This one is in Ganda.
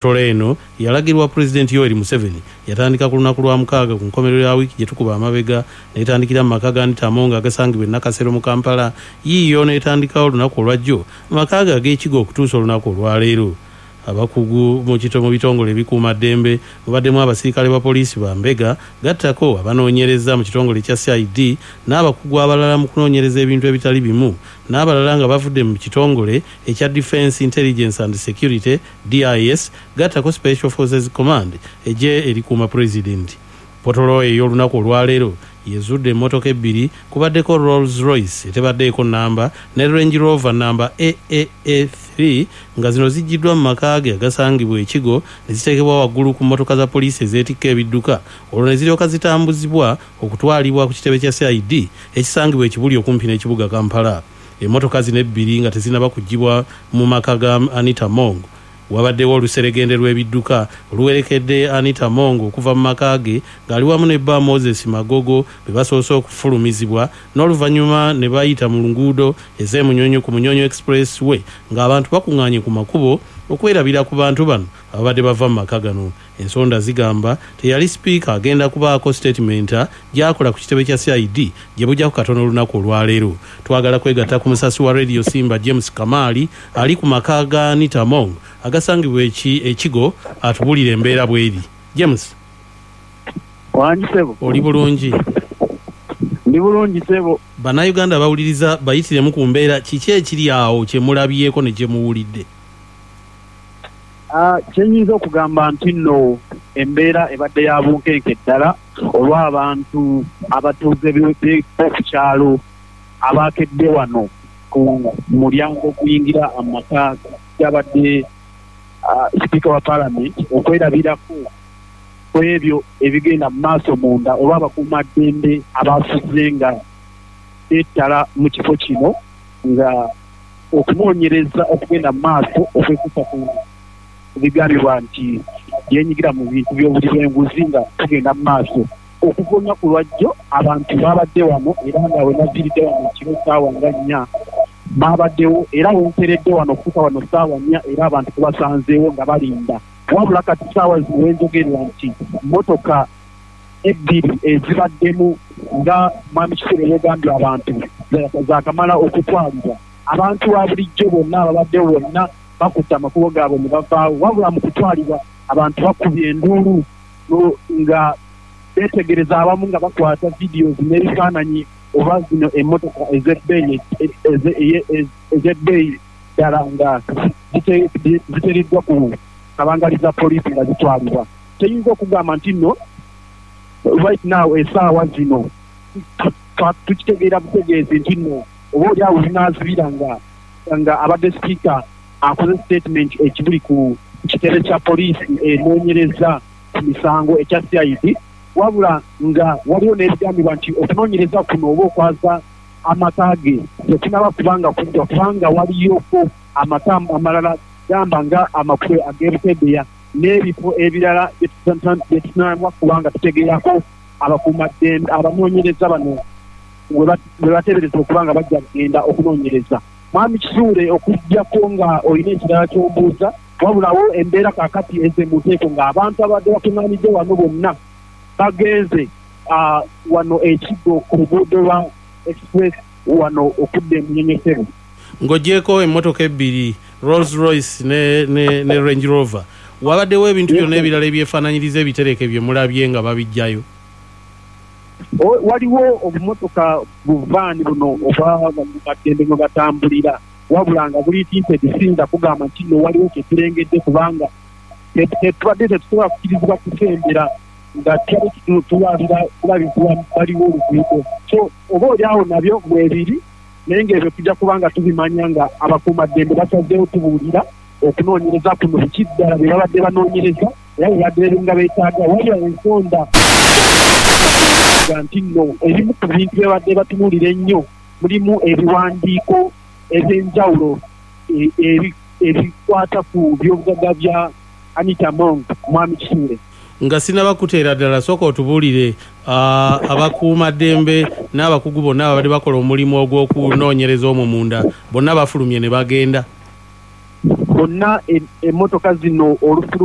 Tole eno yalagirwa Pulezidenti Yoweri Museveni yatandika ku lunaku Lwamukaaga ku nkomerero ya wiiki gye tukuba amabega n'etandikira mu maka ga Anita Among agasangibwa e Nakasero mu Kampala yiiyo n'etandikawo olunaku olwajjo mu maka ge ag'e Kigo okutuusa olunaku olwaleero. Abakugu mu mu bitongole ebikuuma ddembe mubaddemu abasirikale ba poliisi ba mbega gattako abanoonyereza mu kitongole ekya CID n'abakugu abalala mu kunoonyereza ebintu ebitali bimu n'abalala nga bavudde mu kitongole ekya Defence Intelligence and Security, DIS, gattako Special Forces Command eggye erikuuma Pulezidenti. Potolo ey'olunaku olwaleero yezudde emmotoka ebbiri kubaddeko Rolls Royce etebaddeeko nnamba ne Range Rover nnamba AAA3 nga zino ziggyiddwa mu maka ge agasangibwa e Kigo ne ziteekebwa waggulu ku mmotoka za poliisi ezeetikka ebidduka olwo ne ziryoka zitambuzibwa okutwalibwa ku kitebe kya CID ekisangibwa e Kibuli okumpi n'ekibuga Kampala. Emmotoka zino ebbiri nga tezinnaba kuggyibwa mu maka ga Anita Among, wabaddewo oluseregende lw'ebidduka oluwerekedde Anita Among okuva mu maka ge ng'ali wamu ne bba Moses Magogo be basoose okufulumizibwa n'oluvannyuma ne bayita mu nguudo ez'e Munyonyo ku Munyonyo Express Way ng'abantu bakung'aanye ku makubo okwerabira ku bantu bano ababadde bava mu maka gano. Ensonda zigamba teyali sipiika agenda kubaako sitetimenta gy'akola ku kitebe kya CID gye bujjako katono olunaku olwaleero. Twagala kwegatta ku musasi wa Radio Simba James Kamaali ali ku maka ga Anita Among agasangibwa e Kigo atubulire embeera bw'eri. James. Wangi ssebo. Oli bulungi? Ndi bulungi ssebo. Bannayuganda abawuliriza bayitiremu ku mbeera kiki ekiri awo kye mulabyeko ne kye muwulidde? Kye nnyinza okugamba nti nno embeera ebadde ya bunkenke ddala olw'abantu abatuuze b'oku kyalo abaakedde wano ku mulyango oguyingira amaka g'abadde sipiika wa palamenti okwerabirako ku ebyo ebigenda mu maaso munda olw'abakuumaddembe abaasuze nga beettala mu kifo kino nga okunoonyereza okugenda mu maaso okwekuusa ku bigambibwa nti yeenyigira mu bintu by'obuli bw'enguzi nga kugenda mu maaso. Okuva olunaku lwajjo abantu baabadde wano era nga we naviiridde wano ekiro ssaawa nga nnya baabaddewo era we nkeeredde wano okutuuka wano ssaawa nnya era abantu tubasanzeewo nga balinda wabula kati ssaawa zino we njogerera nti mmotoka ebbiri ezibaddemu nga Mwami Kisuule bw'ogambye abantu zaakamala okutwalibwa. Abantu ba bulijjo bonna ababaddewo bonna bakutte amakubo gaabwe ne bavaawo wabula mu kutwalibwa abantu bakubye enduulu nga beetegereza abamu nga bakwata videos n'ebifaananyi oba zino emmotoka ez'ebbeeyi ez'ebbeeyi ddala nga ziteereddwa ku kabangali za poliisi nga zitwalibwa. Kyeyinza okugamba nti nno right now esaawa zino tukitegeera butegeezi nti nno oba oli awo zinaazibira nga nga abadde sipiika akoze sitatimenti ekibuli ku kitebe kya poliisi enoonyereza ku misango ekya CID wabula nga waliwo n'ebigambibwa nti okunoonyereza kuno oba okwaza amaka ge tekunaba kuba nga kuggwa kubanga waliyoko amaka amalala gamba nga amakulu ag'e Bukedea n'ebifo ebirala bye tutanaba kuba nga tutegeerako abakuumaddembe abanoonyereza bano we bateeberezebwa okuba nga bajja kugenda okunoonyereza. Mwami Kisuule okuggyako nga olina ekirala ky'ombuuza, wabula wo embeera kaakati ezze mu nteeko ng'abantu ababadde bakung'aanidde wano bonna bagenze wano e Kigo ku luguudo lwa Express wano okudda e Munyonyo ssebo. Ng'oggyeeko emmotoka ebbiri Rolls Royce ne, ne, ne Range Rover, wabaddewo ebintu byonna ebirala ebyefaananyiriza ebitereke bye mulabye nga babiggyayo? Waliwo obumotoka bu vaani buno obwa bakuumaddembe mwe batambulira wabula nga buli tinted siyinza kugamba nti nno waliwo kye tulengedde kubanga tubadde tetusobola kukirizibwa kusembera nga tubadde tulabira bulabizibwa bbali w'oluguudo so oba oli awo nabyo mwebiri naye ng'ebyo tujja kuba nga tubimanya nga abakuumaddembe basazeewo tubuulira okunoonyereza kuno biki ddala bye babadde banoonyereza era bwe babadde nga beetaaga wabula ensonda nti nno ebimu ku bintu bye babadde batunuulira ennyo mulimu ebiwandiiko eby'enjawulo ebikwata ku by'obugagga bya Anita Among Mwami Kisuule. Nga sinnaba kukuteera ddala sooka otubuulire abakuumaddembe n'abakugu bonna ababadde bakola omulimu ogw'okunoonyereza omwo munda bonna bafulumye ne bagenda? Bonna emotoka zino olufulumye.